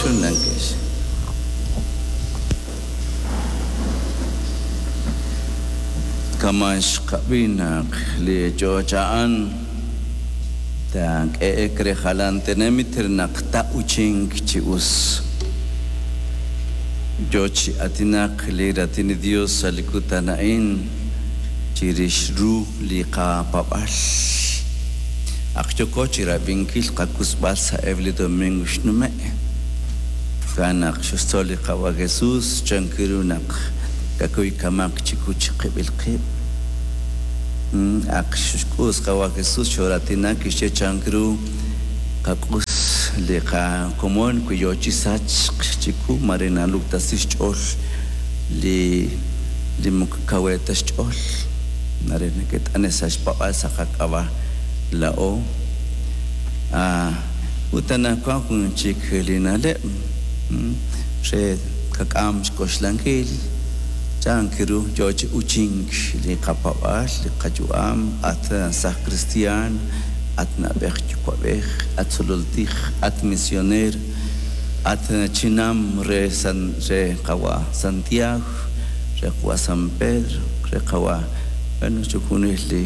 Chunlankex. Kama' xqab'i naq li ch'och' a'an taak'e'ek re jalan tenamit re naq ta'uchinq chi us. Yo chi aatinak li Raatin li Dios sa' li kutan a'in chirix ru li qapaab'aal. Ak yooko chi rab'inkil qakusb'al sa'eb' li domingo xnume'. Jo'kan naq xe'xtzol li Qaawa' Jesus chan ru naq kakuy kamaq chiqu chiqib'il qib'. Ak xk'us Qaawa' Jesus xooraatinak kixye chan ru qak'us li qakomon wi yoo chi sachk chiqu mare naluktasi xch'ool li li moko kawe ta xch'ool mare neke't'ane' sa' xpaab'aal sa' qak'ab'a' laa'o. Ut anaqwan jun chik li na'leb' re qak'am xk'oxlankil chan ru yoo chi uchink li qapaab'aal, li qayu'am, at saj kristiaan, at na'b'ej yuwa'b'ej, at tzolol tij, at misioneer, at chinam re San re qawa' Santiago, re qawa' San Pedro, re qawa' bueno chixjunil li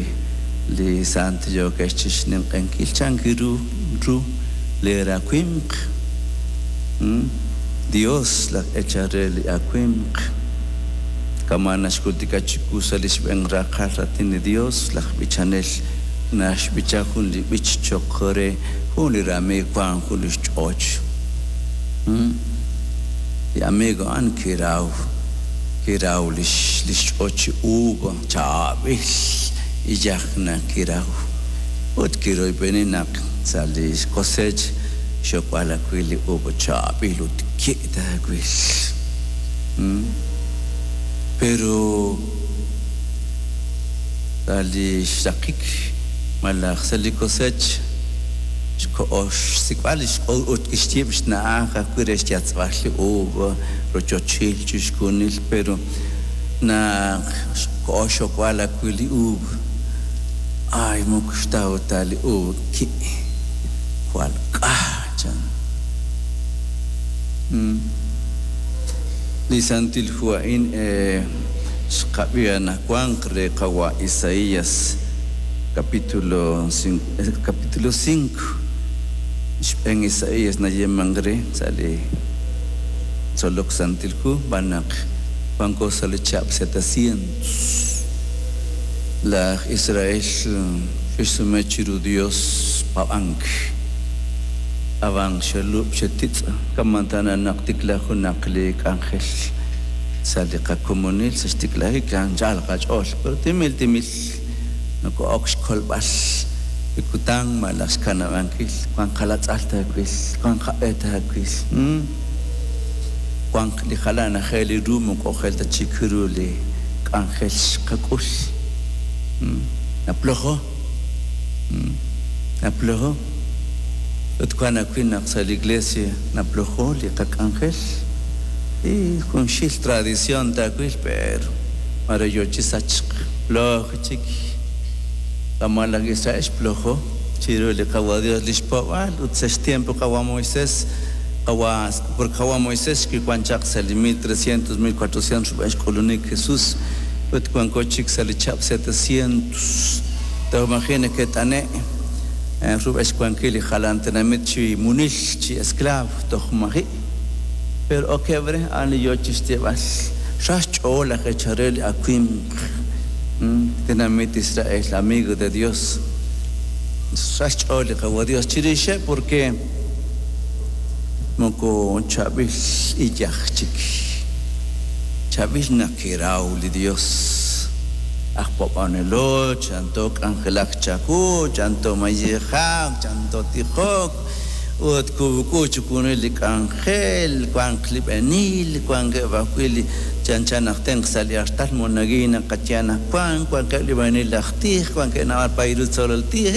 li sant yookex chixninq'ehinkil chan ru ru lee rawimq. Dios laj eechal re li awimq. Kama' naxjultika chiwu sa' li xb'een raqal raatin li Dios, laj b'ichanel naxb'icha jun li b'ich cho'q re jun li ramiiw wank jun li xch'och. Li amigo a'an kiraw kiraw li xch'och chi uva chaab'il iyaj naq kiraw ut kiroyb'eni naq sa' li xkosech xokb'al ajwi' li uva chaab'il ut ki' taawil. Pero sa' li xraqik malaj sa' li kosech xkoho xsik'b'al li xq'ol ut kixyiib' xna'aj ajwi' re xyatz'b'al li uva, rochochil chixjunil, pero naq xkoho xokb'al ajwi' li uva, ay moko xtaw ta li uva ki' jwal k'a chan. Li Santil Hu a'in xqab'i anaqwan re qawa' Isaías capítulo capítulo 5 xb'een Isaías nayeemank re sa' li tzolok Santil Hu xb'aan naq wanko sa' li chihab' 700. Laj Israel xe'xsume chiru Dios paab'ank. Ab'an xelub' xetitz' kama' tana naq tikla junaq li k'anjel sa' li qakomonil sa' xtiklajik anchal qach'ool, pero timil timil noko'ok xkolb'al li kutan malaj xkanab'ankil, wank qalatz'al taawil, wank qab'e taawil, wank li jalan ajel li ru moko ojel ta chik ru li k'anjel xqak'ul. Naplojo, naplojo. Ut wank ajwi' naq sa' li iglesia naplojo li qak'anjel y junxil tradición taawil, pero mare yo chi sachk ploj chik. Kama' laj Israel xplojo chiru li Qawa' Dios li xpaab'aal ut sa' xtiempo qawa' Moisés qawa' porque qawa' Moisés kiwank chaq sa' li 1300 1400 rub'el xk'ulunik Jesús ut wanko chik sa' li chihab' 700 toj maji' neke't'ane' rub'el xwankil li jalan tenamit chi munil chi esclavo toj maji'. Pero okeb' re a'an li yo chi xyeeb'al ra xch'ool laj eechal re li awimq tenamit Israel, amigo de Dios. Ra xch'ool li Qawa' Dios chirixeb' porque moko chaab'il iyaj chik. Chaab'il naq kiraw li Dios. Aj paab'anelo, chanto k'anjelak chawu, chanto mayejak, chanto tijok, ut kub'k'u chixjunil li k'anjel, wank li b'enil, wankeb' ajwi' li chanchan naq tenq sa' li artal monaguillo naqaye anaqwan, wankeb' li b'enil aj tij, wankeb' naab'al paay ru tzolol tij,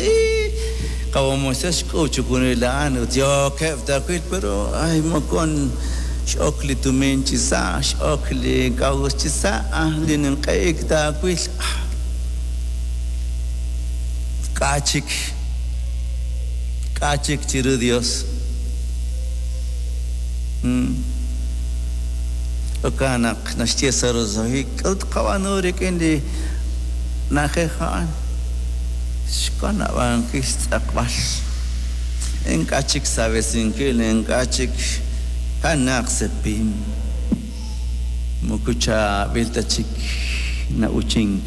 Qawa' Moisés xk'ub' chixjunil a'an ut yookeb' taawil, pero ay moko x'ok li tumin chi sa', x'ok li k'a'uxl chi sa', li ninq'ehik taawil. K'a' chik, k'a' chik chiru Dios. Jo'kan naq naxye sa' roso'jik, k'aru tqab'aanu rik'in li na'ajej a'an? Xkanab'ankil xtz'eqb'al. Ink'a' chik saab'esinkil, ink'a' chik kanaaq sepim. Moko chaab'il ta chik na'uchink,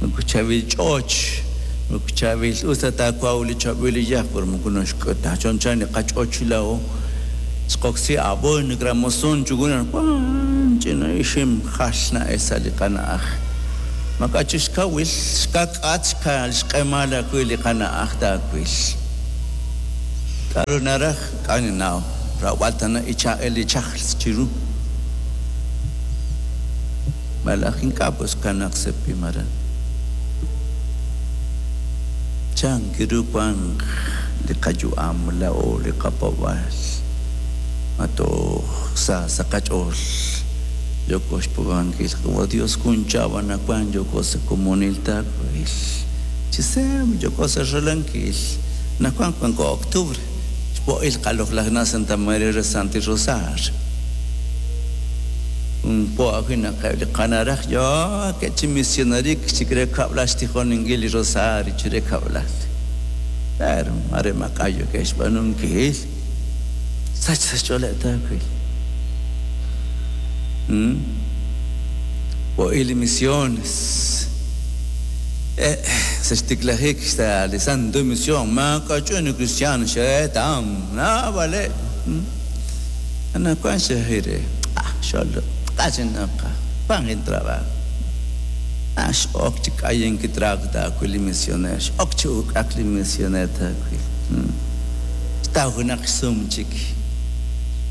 moko chaab'il ch'och, moko chaab'il us ta taawaw li chaab'il iyaj, pero moko naxk'e ta chanchan li qach'och laa'o. Xqoksi abono, gramosun, chukunan, wan ch'ina ixim jal na'el sa' li qana'aj. Maak'a' chik xkawil, xkak'at, xq'emal ajwi' li qana'aj taawil. K'a'ru naraj? K'a' ninnaw, rawb'al tana icha'el li chajl chiru. Malaj ink'a' pues kanaq sepim aran. Chan ru wanq li qayu'am laa'o li qapaab'aal? Ma toj sa sa' qach'ool yooko xpaab'ankil Qawa' Dios jun cha'ab' anaqwan yooko sa' komonil taawil? Chi seeb' yooko sa' Ralankil, anaqwan wanko octubre, xpo'il qaloq'laj na' Santa María re Santil Rosario. Jun po ajwi' naq eb' li qanaraj yookeb' chi misionarik chik re kab'lal xtijoninkil li rosario chire kab'lal. Pero mare maak'a' yookeb' xb'aanunkil. Sach sa' xch'ooleb' taawil. Po'il li misiones. Sa' xtiklajik sa' li Santo Mision maak'a' ch'un li kristiaan xe'etam naab'aleb'. Anaqwan xe'jir re, Ah, xolo, q'axinaq, wank intrabajo. Ah, x'ok chi k'ayink trago taawil li misioneer, x'ok chi uk'ak li misioneer taawil. Xtaw junaq xsum chik.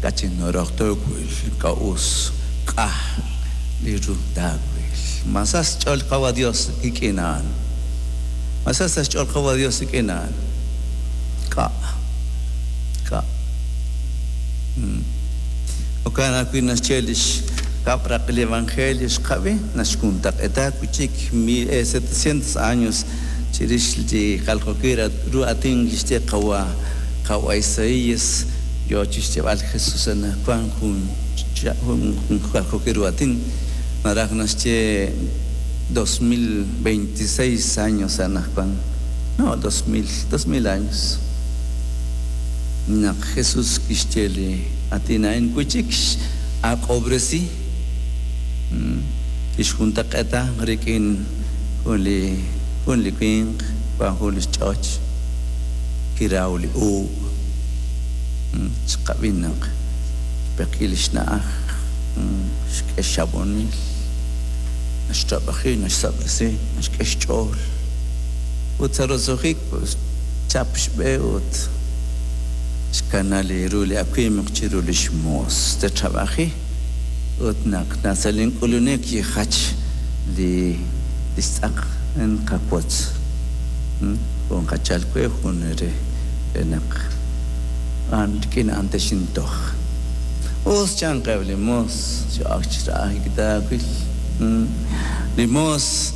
K'achinoroq taawil, ink'a' us k'a li ru taawil. Ma sa xch'ool Qawa' Dios rik'in a'an? Ma sa sa xch'ool Qawa' Dios rik'in a'an? K'a. K'a. Jo'kan ajwi' naxye li xkab' raq li Evangelio xqab'i, naxjuntaq'eeta wi' chik 1700 años chirix li jaljookil ru aatin kixye qawa' qawa' Isaías yoo chi xyeeb'al Jesús anaqwan jun jaljookil ru aatin naraj naxye 2026 años anaqwan no 2000 2000 años. Naq Jesús kixye li aatin a'in wi' chik x'ak'ob'resi, kixjuntaq'eeta rik'in jun li jun li winq wank jun li xch'och kiraw li uub'. Xqab'i naq xpekil li xna'aj, xk'e xxab'onil, naxtrab'aji, naxsab'resi, naxk'e xch'ool. Ut sa' roso'jik xchap xb'e ut xkana li ru li awimq chiru lix moos te'trab'aji, ut naq sa' lin k'ulunik kijach li lix tz'aq nqawotz, jun qachal we, jun re re naq a'an rik'in a'an texintoj. Us chanqeb' li moos, xe'ok chi ra'ajik taawil. Li moos.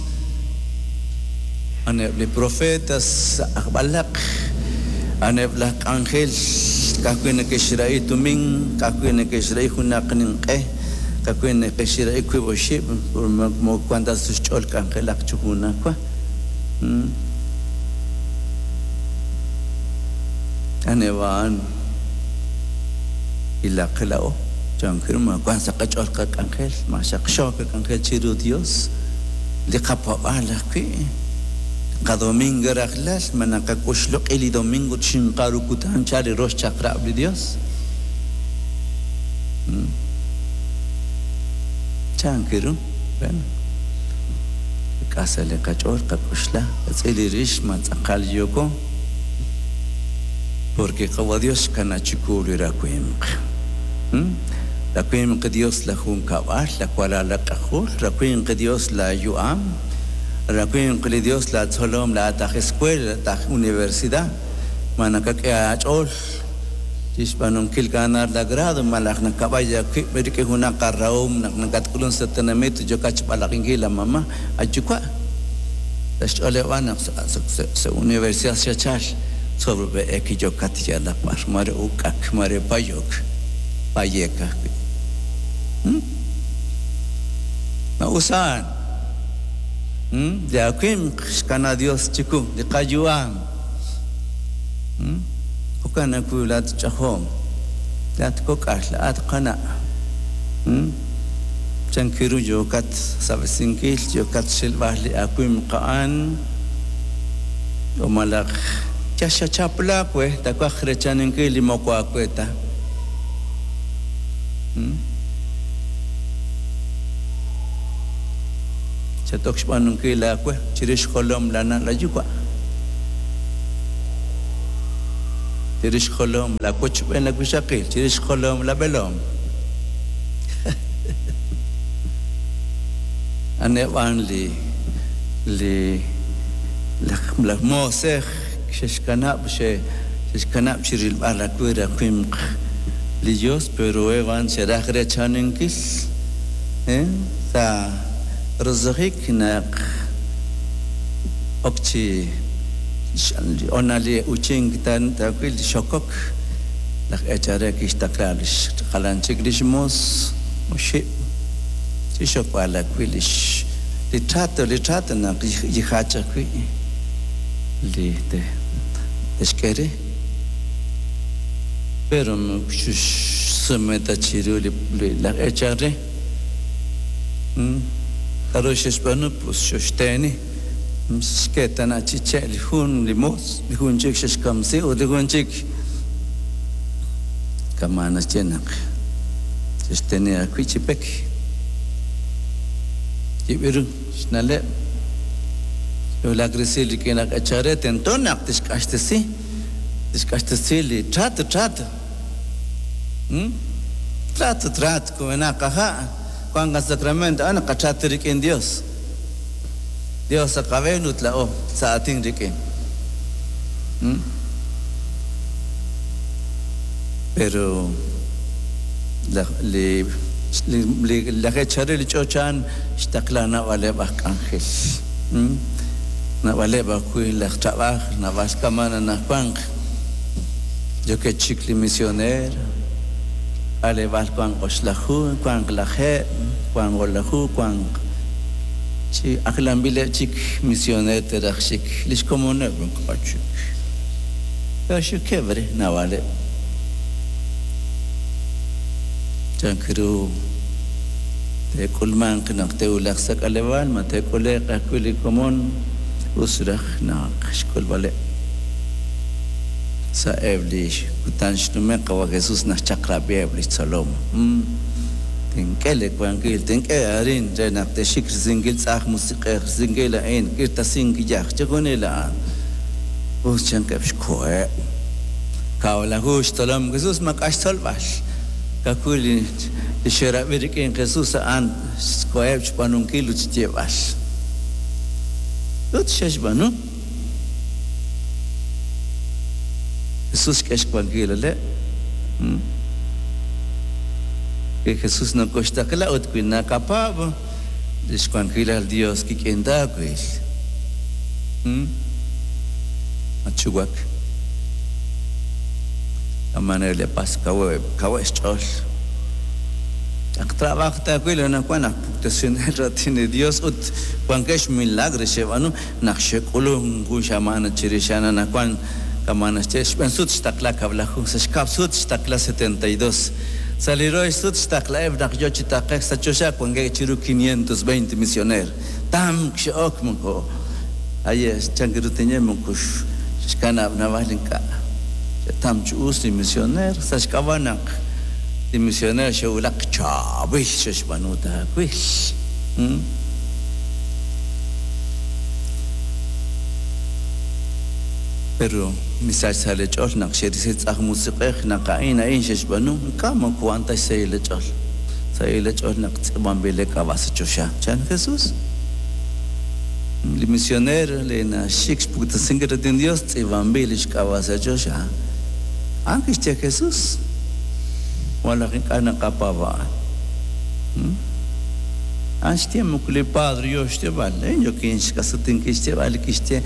A'aneb' li profetas aj b'alaq, a'aneb' laj k'anjel ka'ajwi' neke'xrahi tumin, ka'ajwi' neke'xrahi junaq ninq'e, ka'ajwi' neke'xrahi wiib' oxib', moko wank ta sa' xch'ool k'anjelak chi junajwa. A'aneb' a'an ilaq laa'o, chank ru ma wank sa' qach'ool qak'anjel, ma xaqxo qak'anjel chiru Dios. Li qapaab'aal ajwi', qadomingo rajlal, ma naqak'uxloq'i li domingo ut xinqa ru kutan chal li rox chaq'rab' li Dios? Chank ru? Bueno, k'a sa' li qach'ool qak'uxla, qatz'il li rix ma tz'aqal yooko, porque Qawa' Dios xkana chiku li rawimq. Rawimq Dios la junkab'al, la walal ak'ajol, rawimq Dios la yu'am, rawimq li Dios la tzolom laa'at aj escuela, laa'at aj universidad, ma nakak'e aach'ool chi xb'aanunkil ganar la grado malaj nakab'ay aawib' rik'in junaq arahom naq nakatk'ulunk sa' tenamit ut yookat xb'alaq'inkil la mama, ayuwa'. Sa' xch'ooleb' naq sa' universidad xachal, tzol b'eek yookat yalaq b'ar, mare uk'ak, mare payok. Paye'k ajwi'. Ma us a'an? Li awimq xkana Dios chiku, li qayu'am. Jo'kan ajwi' laat ch'ajom, laat kok'al, laat qana'. Chan kiru yookat sab'esinkil, yookat xilb'al li awimq a'an, o malaj yal xachap laawe, taawaj rechaninkil li moko aawe ta. Xat-ok xb'aanunkil aawe chirix xjolom laana' laayuwa', chirix xjolom laawochb'een laawixaqil, chirix xjolom laab'eelom. A'aneb' a'an li li laj moosej xe'xkanab' xe'xkanab' chi rilb'al ajwi' rawimq li Yos, pero eb' a'an xe'raj reechaninkil sa' roso'jik naq ok chi honal li uuchink taawil li xokok, laj eechal re kixtaqla li jalan chik li xmoos oxib' chi xokb'al ajwi' li trato, li trato naq yijach ajwi' li te'xk'e re. Pero moko xsume ta chiru li laj eechal re. K'aru xe'xb'aanu? Pues xoxteeni. Xke tana' chi che' li jun li moos, li jun chik xe'xkamsi ut li jun chik kama' naxye naq xe'xteni ajwi' chi pek. Yib' ru xna'leb'. Xwulak resil rik'in laj eechal re tento naq tixq'axtesi, tixq'axtesi li trato, trato. Trato, trato, kub'enaq qaha', wank qasacramento, a'an qatrato rik'in Dios. Dios sa' qab'een ut laa'o sa' aatin rik'in. Pero li laj eechal re li ch'och a'an xtaqla naab'aleb' aj k'anjel. Naab'aleb' ajwi' laj trab'aaj, naab'al k'aman anajwank. Yookeb' chik li misioneer, k'aleb'aal wank oxlaju, wank lajeeb', wank o'laju, wank chi ajlanb'ileb' chik misioneer te'raj xik li xkomoneb' ink'a' chik. Kaaxukeb' re naab'aleb'. Chank ru te'k'ulmanq naq te'wulaq sa' k'aleb'aal, ma te'k'ule'q ajwi' li komon, us raj naq xk'ulb'aleb'. Sa'eb' li kutan xnume'k, Qawa' Jesus naxchaq'rab'iheb' li xtzolom. Tink'e li wankil, tink'e arin re naq te'xik risinkil tz'aj musiq'ej, risinkil a'in, k'irtasink yaj, chixjunil a'an. Us chankeb' xkoheb'. Kawlaju xtzolom Jesus maak'a' xtzolb'al. Ka'ajwi' li xe'rab'i rik'in Jesus a'an xkoheb' xb'aanunkil ut xyeeb'al. Ut xe'xb'aanu. Jesus xk'e xwankil aleb'. Li Jesus nokoxtaqla ut wi naqapaab' lix wankilal Dios kik'in taawil. Matxuwak. Amanel li pas kaweb' kaweb' xch'ool. Naq trab'aaj taawil anaqwan aj puktesinel raatin li Dios ut wankeb' xmilagro xe'b'aanu naq xe'k'ulunk jun xamaan chirix a'an anaqwan kama' naxye xb'een sut xtaqla kab'laju, sa' xkab' sut xtaqla 72. Sa' li rox sut xtaqlaheb' naq yoo chi taqe'k sa' choxa wankeb' chiru 520 misioneer. Tamk xe'ok moko aye' chank ru tinye moko xkanab' naab'al ink'a'. Xe'tam chi us li misioneer sa' xk'ab'a' naq li misioneer xe'wulak chaab'il xe'xb'aanu taawil. Pero misach sa' li ch'ool naq xe'risi tz'aj musiq'ej naq a'in a'in xe'xb'aanu, ink'a' moko wan ta xsahil li ch'ool. Sahil li ch'ool naq tz'iib'anb'il li k'ab'a' sa' choxa, chan Jesus. Li misioneer li naxik xpuktesinkil raatin Dios tz'iib'anb'il li xk'ab'a' sa' choxa. A'an kixye Jesus. Malaj ink'a' naqapaab' a'an. A'an xye moko li Padre yoo xyeeb'al, laa'in yookin xk'asutinkil xyeeb'al li kixye,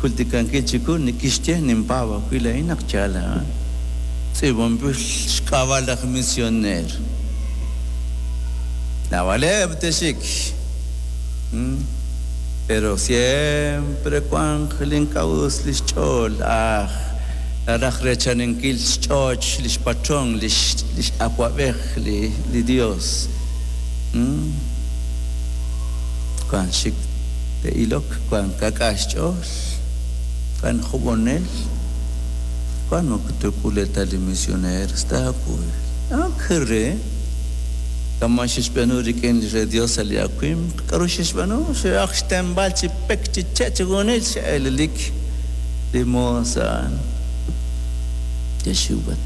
jultikankil chiwu li kixye, ninpaab' ajwi' laa'in naq yaal a'an. Tz'iib'anb'il xk'ab'a' laj misioneer. Naab'aleb' te'xik. Pero siempre wanq li ink'a' us li xch'ool, aj naraj reechaninkil xch'och li xpatron, li x'awab'ej li Dios. Wank xik te'ilok, wank ka'k'a' xch'ool, wank jub'unel, wank moko te'k'ule ta li misioneros taawil. Ak re, kama' xe'xb'aanu rik'in li re Dios sa' li awimq, k'a'ru xe'xb'aanu? Xe'aj xtenb'al chi pek, chi che' chi junil xe'eelelik li moos a'an. Ke'xiwak.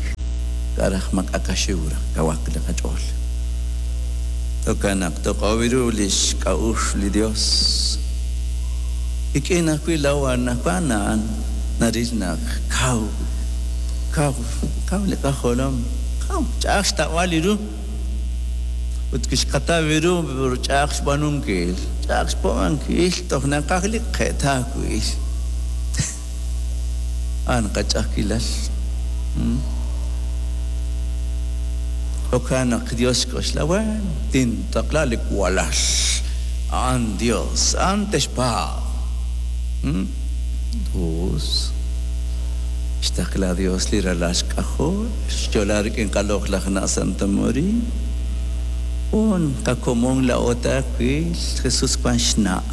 K'a' raj maak'a' qaxiw raj kawaq li qach'ool. Jo'kan naq toq'ob' ru li xk'a'uxl li Dios. Rik'in ajwi' laa'o anaqwan a'an naril naq kaw, kaw, kaw li qajolom, kaw, ch'a'aj xtawb'al li ru. Ut kixqataw ru ch'a'aj xb'aanunkil, ch'a'aj xpo'ankil, toj naqaj li qe'taawil. A'an qach'a'ajkilal. Jo'kan naq Dios xk'oxla, Bueno, tintaqla li walal. A'an Dios, a'an texpaab'. Us. Xtaqla Dios li ralal xk'ajol, xyo'la rik'in qaloq'laj na' Santa María. Jun qakomon laa'o taawil, Jesus wan xna'.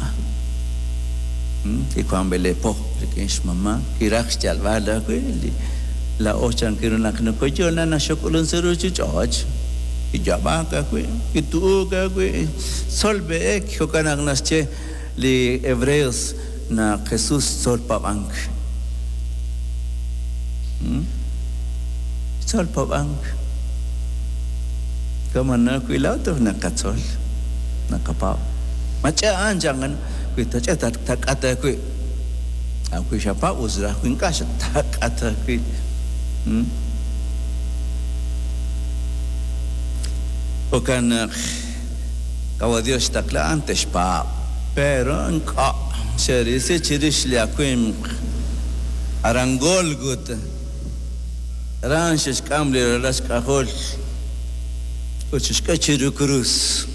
Kiwan b'elepo rik'in xmama', kiraj xyalb'al ajwi' li laa'o chankiru naq nokoyo'la naxok'ulun sa' ruuchich'och'. Kiyaab'ak ajwi', kitu'uk ajwi', tzol b'eek, jo'kan naq naxye li Hebreos naq Jesus xtzol paab'ank. Xtzol paab'ank. Kama' ajwi' laa'o toj naqatzol, naqapaab'. Mach'a'an chan wi tach'e tak'at ajwi'. Wi xapaab' us raj wi ink'a' xatak'at ajwi'. Jo'kan naq Qawa' Dios xtaqla a'an te'xpaab'. Pero ink'a' xe'risi chirix li awimq aran Gólgota. Aran xe'xk'am li ralal xk'ajol ut xe'xk'e chiru krus.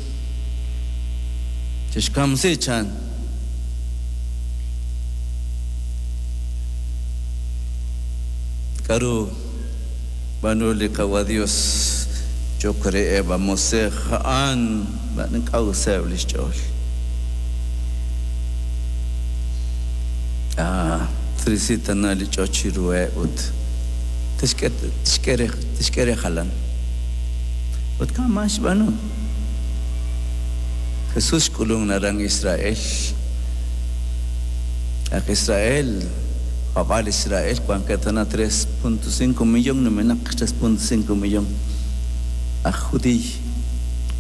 Xe'xkamsi chan. K'aru b'aanu li Qawa' Dios cho'q reheb' a Mosej a'an b'an ink'a' useb' li xch'ool? Ah, trisi tana li ch'och chiruheb' ut tixk'e tixk'e re tixk'e re jalan. Ut kama' xb'aanu. Jesús xk'ulunk aran Israel. Aj Israel, paab'aal Israel wankeb' tana 3.5 millón numenaq 3.5 millón aj judiiy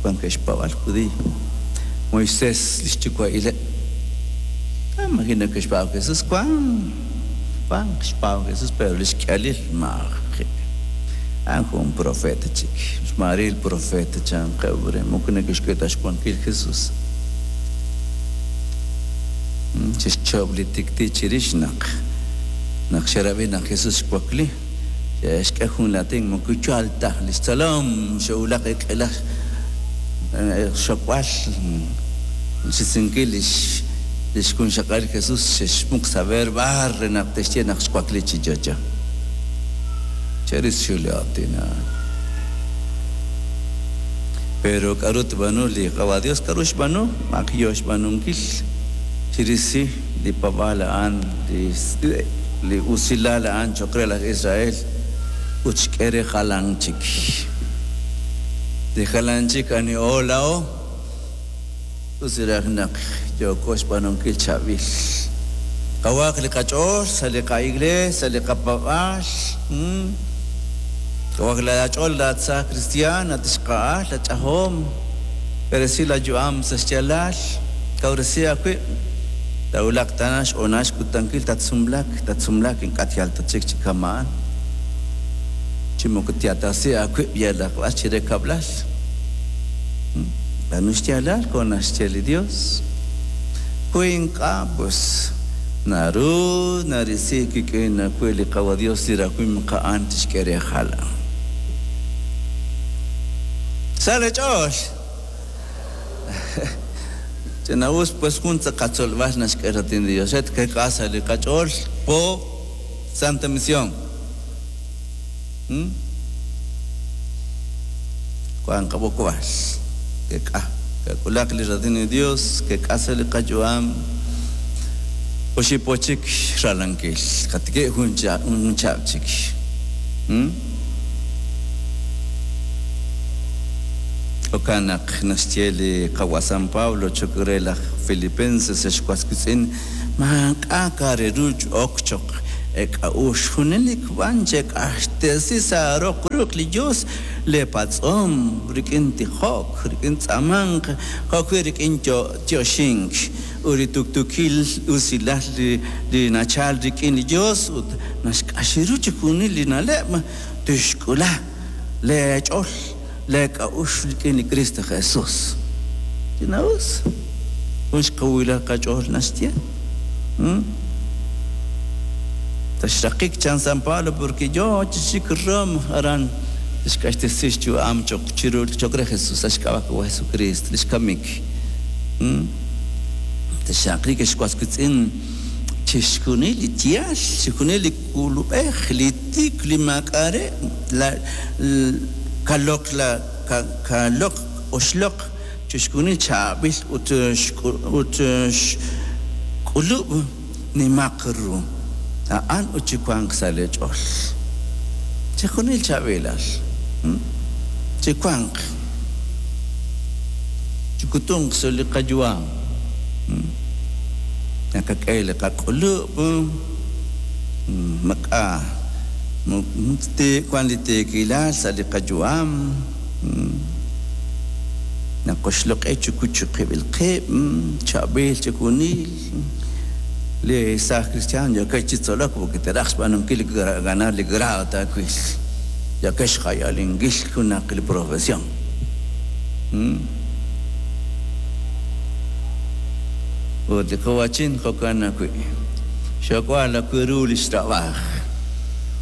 wankeb' xpaab'aal judiiy. Moisés li xyuwa'ileb'. Imagino que xpaab' Jesús wank wank xpaab' Jesús pero li xk'ihalil maaji'. A'an jun profeta chik. Xmaaril profeta chanqeb' re moko neke'xk'e ta xwankil Jesús. Xe'xchob' li tik'ti' chirix naq naq xe'rab'i naq Jesús xwakli. Xe'xk'e jun laatin moko yaal ta. Li xtzolom xe'wulak k'ila xxokb'al xisinkil li xjunxaqalil li Jesús xe'xmuq saber b'ar re naq te'xye naq xwakli chi yo'yo. Che'risi li aatin a'an. Pero k'aru tb'aanu li Qawa' Dios? K'aru xb'aanu? Maq yo xb'aanunkil. Chirisi li paab'aal a'an, li usilal a'an cho'q re laj Israel ut xk'e re jalan chik. Li jalan chik aniho laa'o, us raj naq yooko xb'aanunkil chaab'il. Qawaq li qach'ool sa' li qa'iglees, sa' li qapaab'aal. Kawaq laach'ool laat saaj kristiaan, atixqa'al, lach'ajom, b'eresi laayu'am sa' xyaalal, kawresi aawib', taawulaq tana xhoonal xkutankil tatsumlak, tatsumlak ink'a' tyal ta chik chi kama'an, chi moko tyatasi aawib' yalaq b'ar chire kab'lal. B'aanu xyaalal jo' naxye li Dios. Wi ink'a', pues Naru narisi kik'in ajwi' li Qawa' Dios li rawimq a'an tixk'e re jalan. Sa leech'ool. Ch'ina'us pues jun qatzolb'al naxk'e raatin li Dios. Et kek'a sa' li qach'ool po Santa Misión. Wank qab'oqb'al. Kek'a. Kak'ulaq li raatin li Dios, kek'a sa' li qayu'am. Oxib' po chik Ralankil. Qatikib' jun chihab' chik. Jo'kan naq naxye li Qawa' San Pablo cho'q re laj Filipenses, Ex was wiitz'in, maak'a' ka' re ru ok cho'q eek'a'uxl, junelik b'an chek'axtesi sa' roq ruq' li Yos leepatz'om rik'in tijok, rik'in tz'aamank, jo'wi' rik'in yoxink, ut li tuktuukil usilal li nachalk rik'in li Yos ut naxq'ax ru chixjunil li na'leb', tixk'ula leech'ool leek'a'uxl rik'in li Kristo Jesús. Ch'ina'us, jun xkawilal qach'ool naxye. Sa' xraqik chan San Pablo porque yo chi xik Roma aran tixq'axtesi xyu'am cho'q chiru cho'q re Jesús sa' xk'ab'a' Qawa' Jesucristo li xkamik. Texxaqliiq ex was wiitz'in chixjunil li yaal, chixjunil li k'ulub'ej, li tik, li maak'a' re, la kaloq la kaloq oxloq chixjunil chaab'il ut ut xk'ulub' nimaq ru. A'an ut chiwanq sa' leech'ool. Chixjunil chaab'ilal. Chiwanq. Chikutunq sa' li qayu'am. Naqak'e li qak'ulub', maak'a' wank li tiikilal sa' li qayu'am. Naqoxloq'i chiqib'il qib', chaab'il chixjunil. Li saaj cristiano yookeb' chi tzolok porque te'raj xb'aanunkil li ganar li grado taawil. Yookeb' xjayalinkil junaq li profesión. Ut li qawa'chin jo'kan ajwi'. Xok'wal ajwi' ru li xtrab'aaj.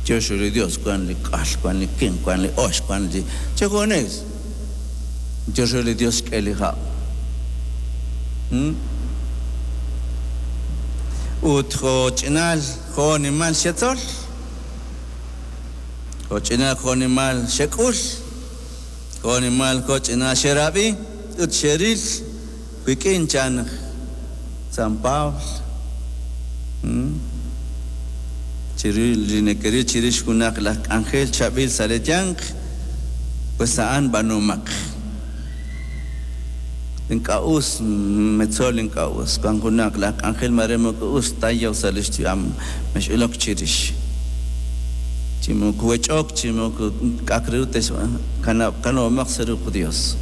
Yox li Dios wank li k'al, wank li kenq, wank li ox, wank li chixjunil. Yox li Dios xk'e li hab'. Ut jo'ch'inal jo'nimal xetzol, jo'ch'inal jo'nimal xek'ul, jo'nimal jo'ch'inal xerab'i ut xeril wik'in chan San Pablo. Chiru li nekeril chirix junaq laj k'anjel chaab'il sa' leeyanq, pues a'an b'aanumaq. Ink'a' us, metzol ink'a' us. Wank junaq laj k'anjel maare moko us ta yow sa' li xyu'am, mex'ilok chirix. Chi moko wech'ok, chi moko k'a'aq re ru kanab'omaq sa' ruq' Dios.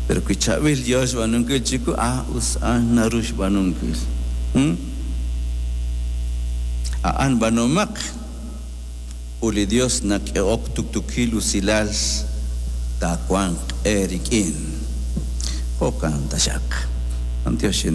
Pero wi chaab'il yo xb'aanunkil chiwu, ah, us a'an naru xb'aanunkil. A'an b'aanumaq. Ut li Yos nak'ehok tuktuukil usilal taawanq eerik'in. Jo'kan taxaq. B'antiox.